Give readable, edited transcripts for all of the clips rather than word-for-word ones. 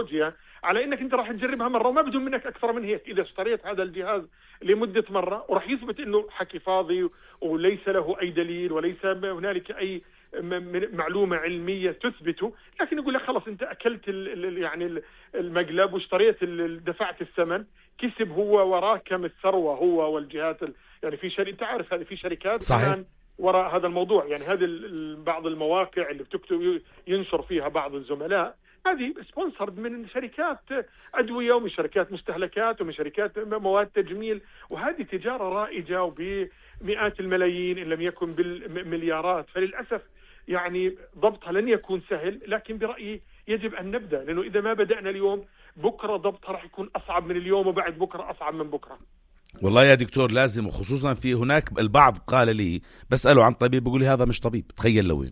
تكنولوجيا على انك انت راح تجربها مرة وما بدهم منك اكثر من هيك. اذا اشتريت هذا الجهاز لمدة مرة وراح يثبت انه حكي فاضي وليس له اي دليل وليس هنالك اي معلومة علمية تثبته، لكن يقول لك خلص انت اكلت يعني المقلب واشتريت دفعت الثمن، كسب هو وراه كم الثروة هو والجهات يعني في انت عارف هذه في شركات صحيح وراء هذا الموضوع. يعني هذه بعض المواقع اللي بتكتب ينشر فيها بعض الزملاء هذه سبونسرد من شركات أدوية ومن شركات مستهلكات ومن شركات مواد تجميل، وهذه تجارة رائجة وبمئات الملايين إن لم يكن بالمليارات. فللأسف يعني ضبطها لن يكون سهل، لكن برأيي يجب أن نبدأ، لأنه إذا ما بدأنا اليوم بكرة ضبطها راح يكون أصعب من اليوم وبعد بكرة أصعب من بكرة. والله يا دكتور لازم، وخصوصا في هناك البعض قال لي بسأله عن طبيب بيقول لي هذا مش طبيب، تخيل لوين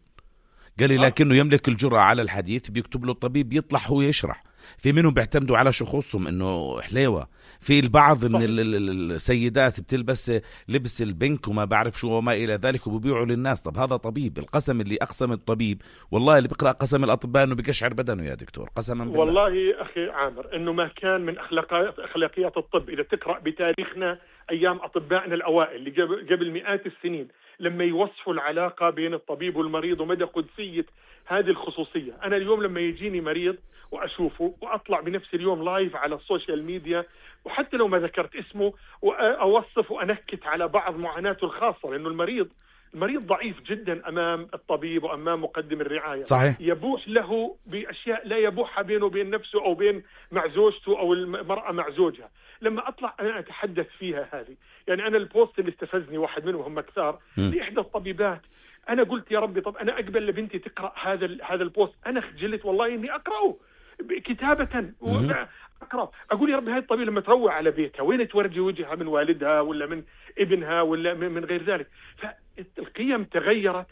قال لي لكنه يملك الجرأة على الحديث، بيكتب له الطبيب يطلع هو يشرح. في منهم بيعتمدوا على شخوصهم انه حليوة، في البعض من السيدات بتلبس لبس البنك وما بعرف شو وما الى ذلك وبيبيعوا للناس. طب هذا طبيب؟ القسم اللي اقسم الطبيب والله اللي بيقرأ قسم الاطباء انه بيقشعر بدنه يا دكتور قسما بالله. والله اخي عامر انه ما كان من اخلاقيات الطب. اذا تقرأ بتاريخنا ايام اطبائنا الاوائل اللي قبل مئات السنين لما يوصفوا العلاقة بين الطبيب والمريض ومدى قدسية هذه الخصوصية. أنا اليوم لما يجيني مريض وأشوفه وأطلع بنفس اليوم لايف على السوشيال ميديا وحتى لو ما ذكرت اسمه وأوصف وأنكت على بعض معاناته الخاصة، لأنه المريض ضعيف جدا أمام الطبيب وأمام مقدم الرعاية. صحيح. يبوح له بأشياء لا يبوحها بينه وبين نفسه أو بين مع زوجته أو المرأة مع زوجها. لما أطلع أنا أتحدث فيها هذه، يعني أنا البوست اللي استفزني واحد منهم هم كثار لإحدى الطبيبات، أنا قلت يا ربي طب أنا أقبل لبنتي تقرأ هذا البوست، أنا خجلت والله إني أقرأه كتابة أقرأ. أقول يا ربي هاي الطبيب لما تروع على بيتها وين تورجي وجهها من والدها ولا من ابنها ولا من غير ذلك. فالقيم تغيرت.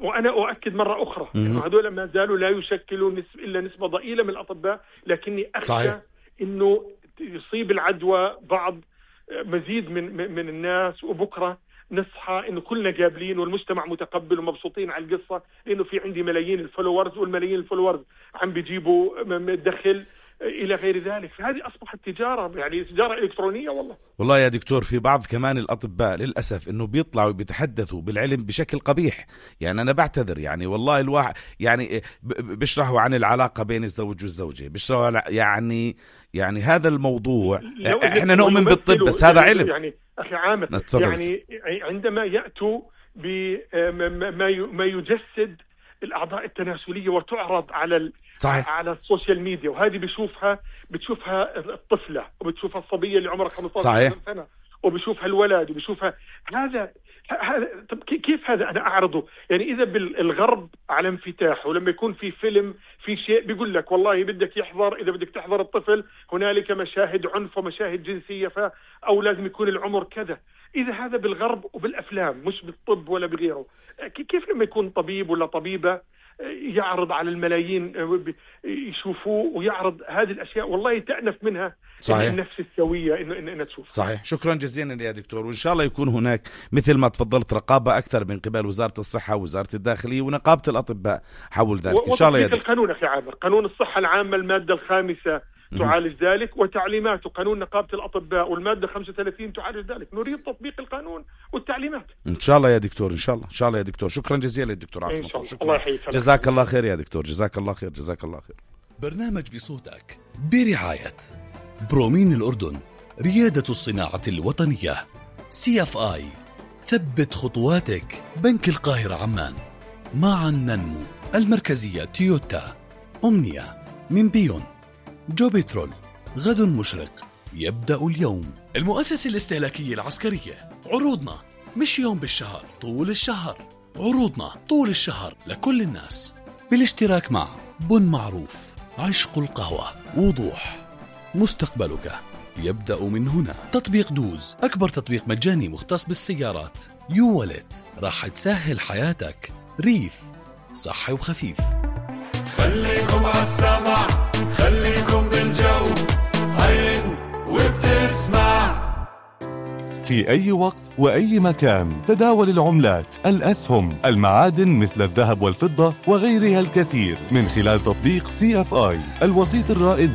وأنا أؤكد مرة أخرى إنه هذول ما زالوا لا يشكلوا إلا نسبة ضئيلة من الأطباء، لكني أخشى إنه يصيب العدوى بعض مزيد من الناس، وبكرة نصحى إنه كلنا قابلين والمجتمع متقبل ومبسوطين على القصة، لأنه في عندي ملايين الفولورز والملايين الفولورز عم بيجيبوا دخل إلى غير ذلك. فهذه أصبحت تجارة، يعني تجارة إلكترونية. والله يا دكتور في بعض كمان الأطباء للأسف إنه بيطلعوا بيتحدثوا بالعلم بشكل قبيح. يعني أنا بعتذر، يعني والله الواحد يعني بيشرحوا عن العلاقة بين الزوج والزوجة، بيشرحوا يعني هذا الموضوع إحنا نؤمن بالطب بس هذا علم. يعني أخي عامر يعني عندما يأتوا بما يجسد الأعضاء التناسلية وتعرض على السوشيال ميديا، وهذه بتشوفها الطفلة وبتشوفها الصبية اللي عمرها 15 سنة وبشوفها الولد وبشوفها هذا. طب كيف هذا أنا أعرضه؟ يعني إذا بالغرب على انفتاح، ولما يكون في فيلم في شيء بيقول لك والله بدك يحضر، إذا بدك تحضر الطفل هنالك مشاهد عنف ومشاهد جنسية أو لازم يكون العمر كذا. إذا هذا بالغرب وبالأفلام مش بالطب ولا بغيره، كيف لما يكون طبيب ولا طبيبة يعرض على الملايين يشوفوه ويعرض هذه الأشياء؟ والله تأنف منها. صحيح. النفس السوية إنه تشوف. صحيح. شكرا جزيلا يا دكتور، وإن شاء الله يكون هناك مثل ما تفضلت رقابة أكثر من قبل وزارة الصحة ووزارة الداخلية ونقابة الأطباء حول ذلك إن شاء الله يا دكتور. القانون أخي عامر، قانون الصحة العامة المادة 5 تعالج ذلك، وتعليماته قانون نقابة الأطباء والمادة 35 تعالج ذلك. نريد تطبيق القانون والتعليمات إن شاء الله يا دكتور. إن شاء الله يا دكتور. شكرا جزيلا للدكتور عاصم. الله يحييك. جزاك الله خير يا دكتور. جزاك الله خير. برنامج بصوتك برعاية برومين الأردن، ريادة الصناعة الوطنية، CFI، ثبت خطواتك، بنك القاهرة عمان، معا ننمو، المركزية تويوتا، أمنية من بيون، جو بترول، غد مشرق يبدأ اليوم، المؤسسة الاستهلاكية العسكرية. عروضنا مش يوم بالشهر، طول الشهر. عروضنا طول الشهر لكل الناس، بالاشتراك مع بن معروف، عشق القهوة، وضوح، مستقبلك يبدأ من هنا. تطبيق دوز، أكبر تطبيق مجاني مختص بالسيارات. يو والت، راح تسهل حياتك. ريف، صحي وخفيف. خليكم عالسمع، خليكم بالجو، عين وبتسمع. في أي وقت وأي مكان تداول العملات، الأسهم، المعادن مثل الذهب والفضة وغيرها الكثير من خلال تطبيق CFI، الوسيط الرائد